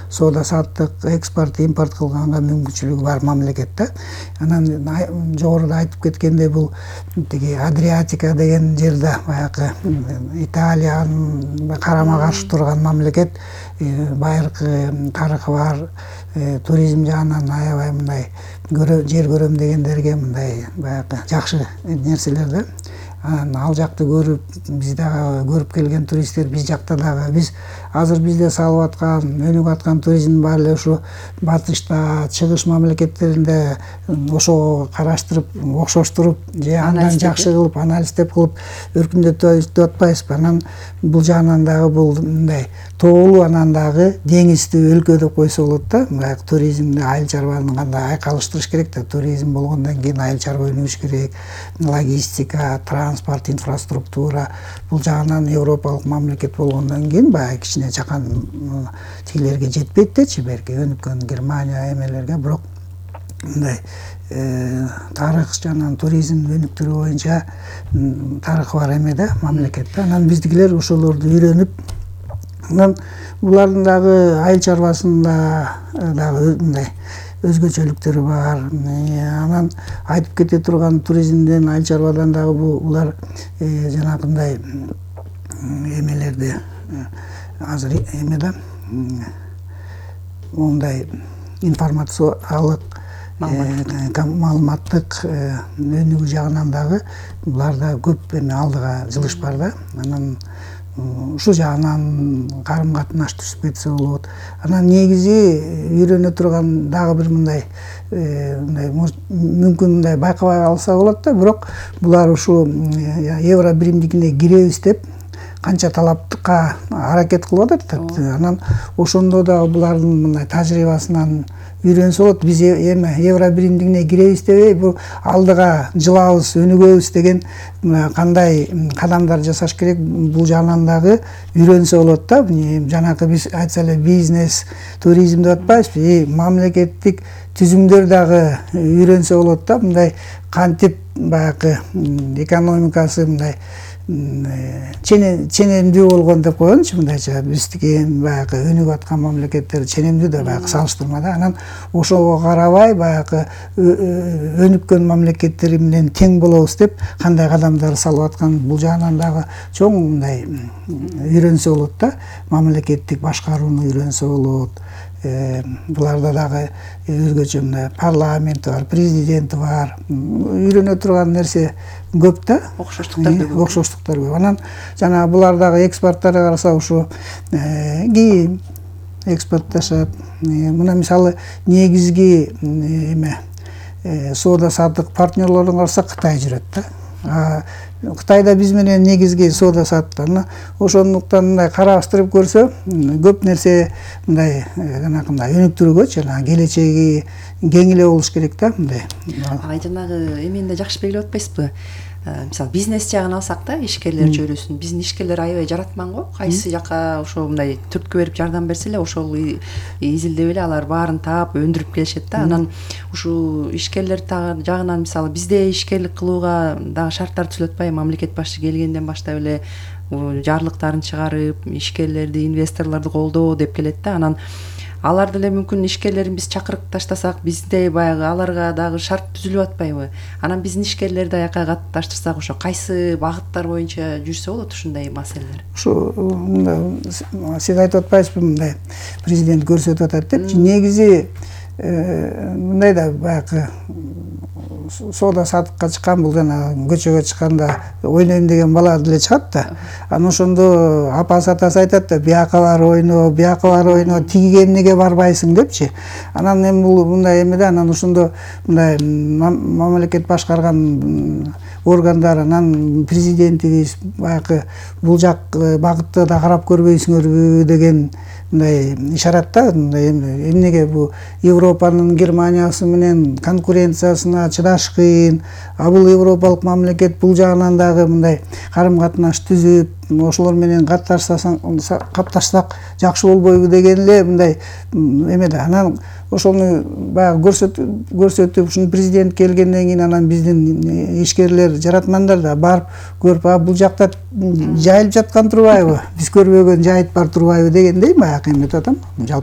соода саттык, экспорт, импорт кылганга мүмкүнчүлүгү бар мамлекет да. Анан жогоруда айтып кеткендей бул тиги Адриатика деген жерде баягы Италиянын карама каршы турган мамлекет, байыркы тарыхы бар, туризм жагынан аябай мындай жер көрөм дегендерге мындай баягы жакшы нерселер да. Ал жакты көрүп, биз дагы көрүп келген туристтер, биз жакта дагы биз азыр бизде салып аткан, өнүгүп аткан туризм баары эле ушу батышта, чыгыш мамлекеттеринде ошого караштырып, окшоштуруп, же андан жакшы кылып, анализдеп кылып өркүндөтүп атпайбызбы? Анан бул жагынан дагы бул мындай тоолуу, анан дагы деңиздүү өлкө деп койсо болот да. Мындай туризмди, айыл чарбаны кандай айкалыштырыш керек да. Туризм болгондон кийин айыл чарба өнүгүш керек, логистика, транспорт, инфраструктура. Бул жагынан европалык мамлекет болгондон кийин баягы кичине жакан тигилерге жетпейт дечи, берки өнүккөн Германия эмелерге, бирок мындай тарых жана туризм өнүктүрүү боюнча тарыхы бар эме да, мамлекет да. Анан биздикилер ошолорду үйрөнүп, анан булардын дагы айыл чарбасында дагы мындай өзгөчөлүктөрү бар. Анан айтып кете турган туризмден, айыл чарбадан дагы булар жанагындай эмелерди азыр эме да, мондай информациялык, маалыматтык өнүгүү жагынан дагы буларда көп эме алдыга жылыш бар да. Анан ушул жагынан карым катнаш түзүп кетсе болот. Анан негизи үйрөнө турган дагы бир мындай мүмкүн мындай байкабай алса болот да, бирок булар ушу евро биримдигине киребиз деп канча талапка аракет кылып атат. Анан ошондо дагы булардын мындай тажрыйбасынан үйрөнсө болот. Биз эме евро биримдигине киребиз дебей, бул алдыга жылабыз, өнүгөбүз деген кандай кадамдар жасаш керек, бул жагынан дагы үйрөнсө болот да. Жанагы биз айтса эле бизнес, туризм деп атпайбызбы, мамлекеттик түзүмдөр дагы үйрөнсө болот да. Мындай кантип баягы экономикасы мындай ченемдүү болгон деп коелучу, мындайча биздики баягы өнүгүп аткан мамлекеттер ченемдүү да баягы салыштырмада. Анан ошого карабай баягы өнүккөн мамлекеттер менен тең болобуз деп кандай кадамдар салып аткан, бул жагынан дагы чоң мындай үйрөнсө болот да. Мамлекеттик башкарууну үйрөнсө болот. Буларда дагы өзгөчө мындай парламенти бар, президенти бар. Үйрөнө турган нерсе көп да. Окшоштуктар көп. Анан жана булардагы экспорттарга караса ушу кийим экспортташат. Мына мисалы негизги эме соода саттык партнерлорун карасак Кытай жүрөт да. Кытайда биз менен негизги соода саттык. Ошондуктан мындай караштырып көрсө, көп нерсе мындай жанагындай өнүктүрүүгө, жана келечеги кең эле болуш керек да, мындай. Жанагы эмени да жакшы белгилеп атпайсызбы? Мисалы бизнес жагын алсак да, ишкерлер чөйрөсүн, биздин ишкерлер аябай жаратман го. Кайсы жака ошо мындай түрткү берип жардам берсе эле ошол изилдеп эле алар баарын таап өндүрүп келишет да. Анан ушул ишкерлер жагынан мисалы бизде ишкерлик кылууга дагы шарттар түзүлүп атпайбы? Мамлекет башы келгенден баштап эле жарлыктарын чыгарып, ишкерлерди, инвесторлорду колдоо деп келет да. Анан алар деле мүмкүн ишкерлерин биз чакырып таштасак, бизде баягы аларга дагы шарт түзүлүп атпайбы? Анан биздин ишкерлерди аяка катташтырсак, ошо кайсы багыттар боюнча жүрсө болот ушундай маселелер? Ушу сиз айтып атпайсызбы, мындай президент көрсөтүп атат депчи. Негизи мындай да баягы соода саттыкка чыккан, бул жана көчөгө чыкканда ойнойм деген бала деле чыгат да. Анан ошондо апасы атасы айтат да, бияка бар ойно, бияка бар ойно, тигиге эмнеге барбайсың депчи. Анан эми бул мындай эме да, анан ошондо мындай мамлекет башкарган органдар, анан президентибиз баягы бул жак багытты да карап көрбөйсүңөрбү деген мындай ишарат да. Эмнеге бул Европанын Германиясы менен конкуренциясына чыдаш кыйын, а бул европалык мамлекет бул жагынан дагы мындай карым катнаш түзүп, ошолор менен катташсак жакшы болбойбу деген эле мындай эме да. Анан ошону баягы көрсөтүп, ушуну президент келгенден кийин анан биздин ишкерлер, жаратмандар да барып көрүп, бул жакта жайылып жаткан турбайбы, биз көрбөгөн жайыт бар турбайбы дегендей баягы эметип атам.